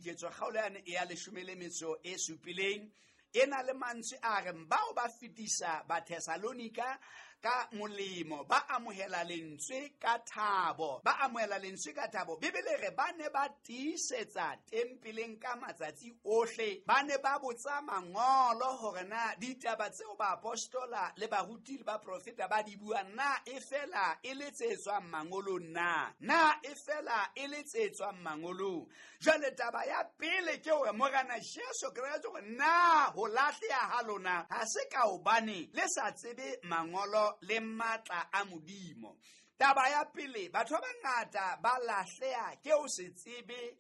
Diketso kgaolo yane ya 17 e na le mantswe a reng bao ba fetisa Bathessalonika ka molemo, ba amohela lentswe ka thabo, ba amohela lentswe ka thabo. Bibele re ba ne ba tiisetsa tempeleng ka matsatsi ohle, ba ne ba botsa mangolo hore na ditaba tseo baapostola le baruti le baprofeta ba di buang na e fela e le tse tswang mangolong na, na e fela e le tse tswang mangolong. Jwale taba ya pele ke hore Morena Jesu Kreste hore na ho lahleha ha lona ha se ka hobane le sa tsebe mangolo le matla a Modimo. Taba ya pele, batho ba bangata ba lahleha ke ho se tsebe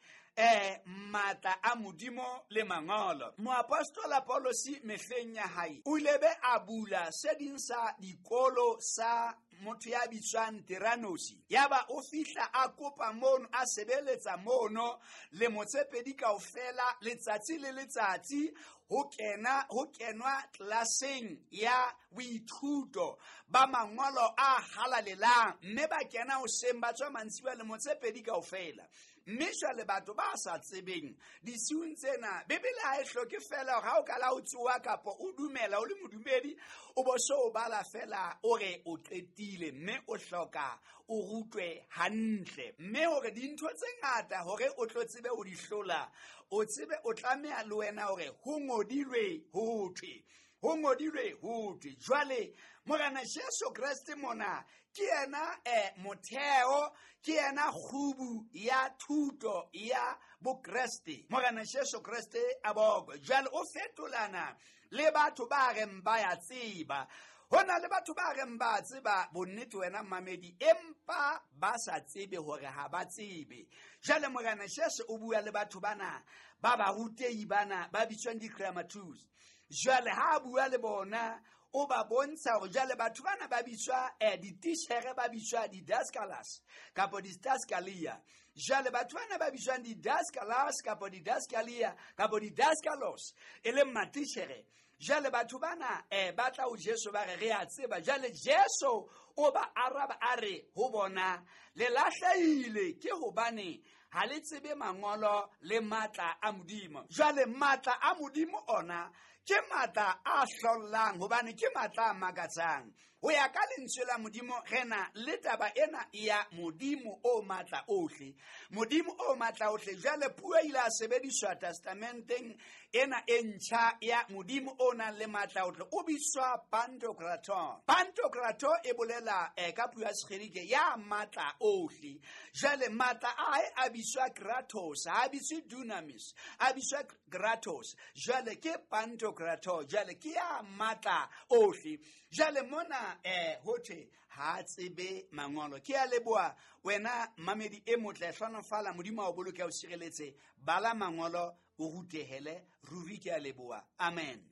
matla a Modimo le mangolo. Moapostola Paulosi mehleng ya hae o ile be a bula se ding sa dikolo sa motho ya bitswang Tiranosi. Yaba o fihla a kopa mono, a sebeletsa mono lemo tse pedi kaofela, letsatsi le letsatsi ho kena ho kenwa tlelaseng ya boithuto ba mangolo a halalelang, mme ba kena hoseng ba tswa mantsibuya lemo tse pedi kaofela. Mme jwale batho ba sa tsebeng disiung tsena, Bibele ha e hloke fela hore ha o ka la o tsoha kapa o dumela o le modumedi, o bo so o bala fela o re o qetile, mme o hloka o rutwe hantle. Mme hore dintho tse ngata hore o tlo tsebe ho di hlola, o tsebe o tlameha le wena hore ho ngodilwe ho thwe, ho ngodilwe ho thwe. Jwale Morena Jesu Kreste mona ke yena motheo, ke yena kgubu ya thuto ya Bokreste. Morena Jesu Kreste a bokwe. Jwale o fetolana le batho ba reng ba ya tseba. Ho na le batho ba reng ba tseba bonnete wena mmamedi, empa ba sa tsebe hore ha ba tsebe. Jwale Morena Jesu o bua le batho bana ba barutehi bana ba bitswang di-grammatus. Jwale ha a bua le bona, o ba bontsha hore jwale batho bana ba bitswa dititjhere, ba bitswa di-daskalas kapa di-daskalia. Jwale batho bana ba bitswang di-daskalas kapa di-daskalia kapa di-daskalos, e leng matitjhere. Jwale batho bana ba tla ho Jesu ba re re a tseba. Jwale Jesu o ba araba a re ho bona, le lahlehile ke hobane ha le tsebe mangolo le matla a Modimo. Jwale matla a Modimo ona ke matla a hlollang, hobane ke matla a makatsang. Ho ya ka lentswe la Modimo, re na le taba ena ya Modimo o matla ohle. Modimo o matla ohle. Jwale puo e ile ya sebediswa testamenteng ena e ntjha ya Modimo o nang le matla ohle, o bitswa Pantokrator. Pantokrator e bolela ka puo ya Segerike ya matla ohle. Jwale matla a hae a bitswa Kratos, ha a bitswe Dunamis, a bitswa Kratos. Jwale ke Pantokrator, jwale ke ya matla ohle. Jwale mona ho thwe ha a tsebe mangolo. Ke a leboha wena mamedi e motle, hlonofala, Modimo a o boloke, a o sireletse. Bala mangolo, o rutehele ruri. Ke a leboha. Amen.